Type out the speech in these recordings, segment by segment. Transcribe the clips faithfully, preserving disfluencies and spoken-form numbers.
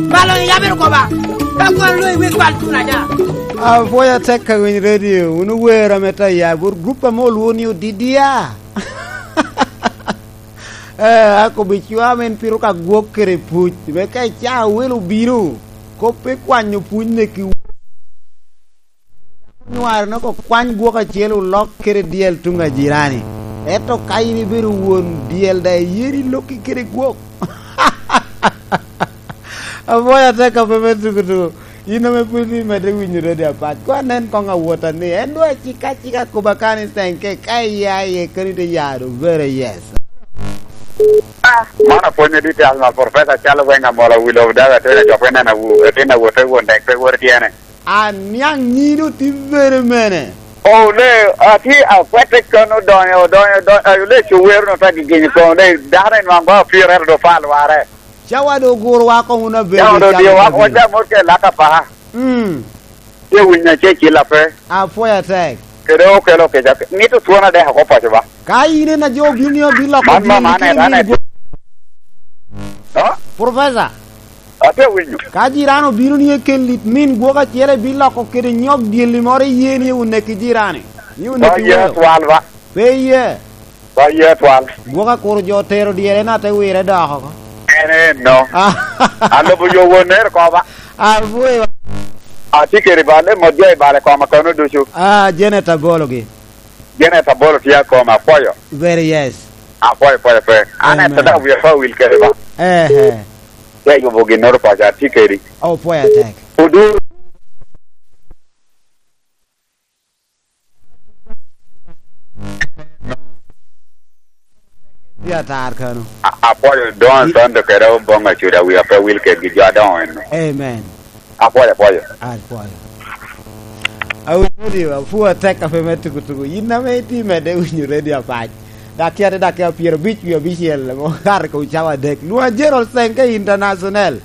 Malo ni yabiro koba. Ka kwano lo iwek bal tun aja. Apwoyo atek ka winy redio, wun ower ame taya, bot grup ame olwo ni odidia. Eh, akobo cwa men piro ka gwok kede puc, me ka icaa wel obino, kop pe kwanyo puc neki. Nywaro nok okwany gwok acel olok kede dyel tuŋ a jirani. Ento ka in ibedo won dyel daŋ iyero ilokki kede gwok. Apwoyo atek ape me tukutuku. In ame pwod imedde winyo redio apac, koŋ anen koŋ awota ni, en doŋ acika acika kop akano i Senke, ka iya iye keni te ya doŋ very yes. Man apwonyo detail ma Professor Charles Wenger Mola Willow Daga Tony Ajok ineno awu, atin awote won dek pe wot tyene. Aniaŋ nyino tye bene mene? Oh, le, atye akwete kono odonyo, odonyo, odonyo, eh, le cuwero no ta gigenyo kono, le dano enwaŋ ba opiro ento do pa lware. Cawa do oguro wa koŋ wun abedo. Cawa do dio wa, waca mot ke laka pa. Mm. Tye winyo acel cil ape. Apwoyo atek. Kede okelo kica, mito twon adek oko paco ba. Ka in en ajo obino ni obin loko. Man, man, man, min gwok. Ha? Professor. Ate winyo. Ka jirani obino ni ekel lit min gwok acel, ibin loko kede nyok dyelli moro iye ni oneki jirani. Ni oneki. Ba ye weyo. Twal ba. Pe iye. Ba ye twal. Gwok akuro jo otero dyere, en ate wire dok oko. En en no. Ah. Alubo yo won nero ko ba. Abwoyo. Atye kede bal, e mot jo i bal i koma kono ducu. Ah, Janet Abologi. Janet Abolo tye akoma, apwoyo. Very yes. Apwoyo, apwoyo, apwoyo. An. Amen. Ento dok wiya pe awil kede ba. Eh, eh. Te yubo ginnoro paco, atye kedi. Oh, pwoyo atek. Odur. Tye atar kano. A-, apwoyo Don Sando kede Oboŋ Acuda, wiya pe wil kedgi jo adoŋo eno. Amen. Apwoyo, apwoyo. Apwoyo. Awinyo ni apwoyo atek ape me tukutuku. Yin ame itye medde winyo redio apac. Dakika te dakika pyero abic wie abicel, mo kare ko cawa adek. Lwonga Gerald Senke International.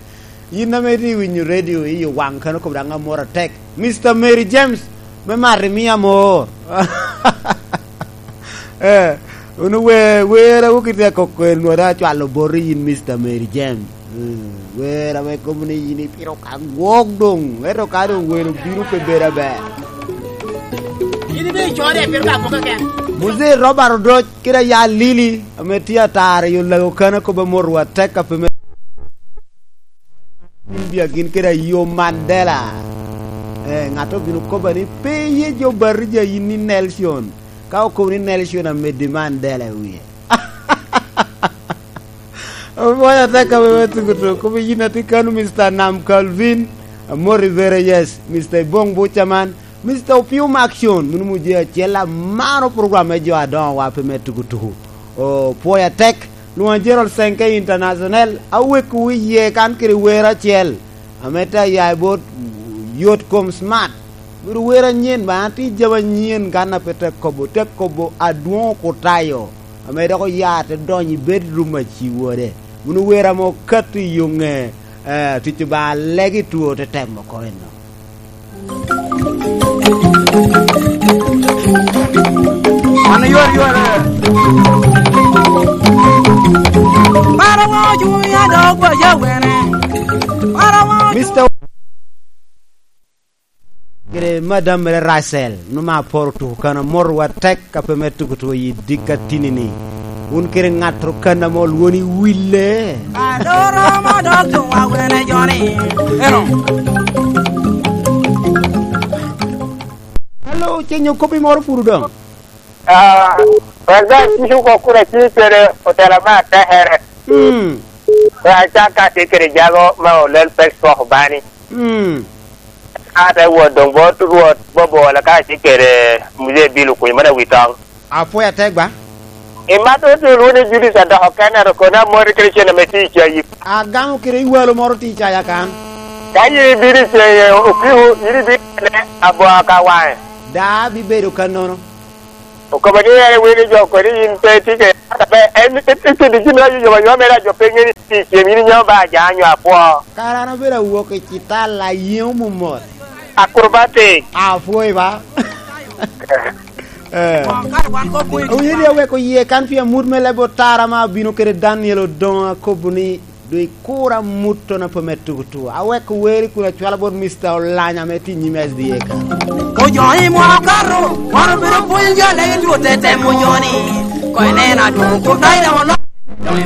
Yin ame itye winyo redio i waŋ kano kop daŋ amor atek. Mister Mary James, me mato imio amor. Eh, wun owe-, wer awoki te koko en, nwara acwalo boti yin, Mister Mary James. Eh, wer ame kobo ni yin ipito ka gwok doŋ, ento ka doŋ welo bino pe bedo aber. In ibino icore, pien ka gwok keken. Muzee Robert Odoc kede aya Lili, ame tye ataro i Olago Kano, kobbe mot wa tek ape me India gin kede ayo Mandela. Eh, ŋat obino kobba ni, "Pe iye jo Barija yin ni Nelson." Ka okobo ni Nelson amedde Mandela i wie. Obonya tek awe me tuko tok. Kobo yin atye kano, Mister Nam Calvin. Amor i very yes. Mister Ibong Buchaman. Mister Opium Action, munu muje acel amaro program me jo adoŋo wa pe me tuku tuku. O, pwoya tek, lwoŋa Gerald Senke International, aweko iye kan kede wer acel, ame te aya i bot Yot Kom Smart. Bedo wer anyen ba, an tye jami anyen kan a pe te kobo, te kobo adwoŋ okutayo, ame dok oya te donyo i bedroom a ci wode. Munu wer ame okato i yo ŋe, eh, tuco ba alegi two te temo oko eno. Mano yor yor. Para wa cunya dog wa ya wene. Para wa Mister kede Madam mere Rachel, numa aporo tuko kan amor wa tek. Ka pe me tuko tuko i dika tini-ni, wun kede ŋat Turkana mo lwoni wille. Adoro ma dok tuwa wene joni. Eno. Alo, cenyo kop i moro puru doŋ. Ah, President Tito Kokura tye kede otela me atekere. Mm. Pe acak ka tye kede jago ma olel pek twoko bani. Mm. Ate wot doŋ bot Rwot Bobola ka tye kede Muzee Bill Okunyo, mano awi toŋ. Apwoyo atek ba. I mat otye lwonde Julius adoko kene, ero kono amori kede cen ame tye i cayi. Agamo kede iwalo moro tye i caya kan. Ka yin ibino i ceye, okiku, yin ibino kene aboa ka waŋe. Da, bibedo kannono. Okobo ni en ewinyo jo kodi yin pe itye kede, ata pe en, en, en kede gin ma yoyoba ywa mere a jo pe ŋeni tye i cem, yin inyo ba aja nyo apwo. Kara an abedo awok i citala, ayeŋo mumot. Akrobatic. Apwoyo ba. Eh. Owinyo ni aweko yie kan pi amut me leb otara ma abino kede Daniel Odongo, akobo ni, "Dwe kur amut tono pe me tugu tugu." Aweko weri kun acwalo bot Mister Olanya ame tye i nyim S D A ka. Ojo i mwaka okato, wan obedo pwony jo legi tye ote temo joni. Ko ineno adwogo kun dai dok oloko. Dong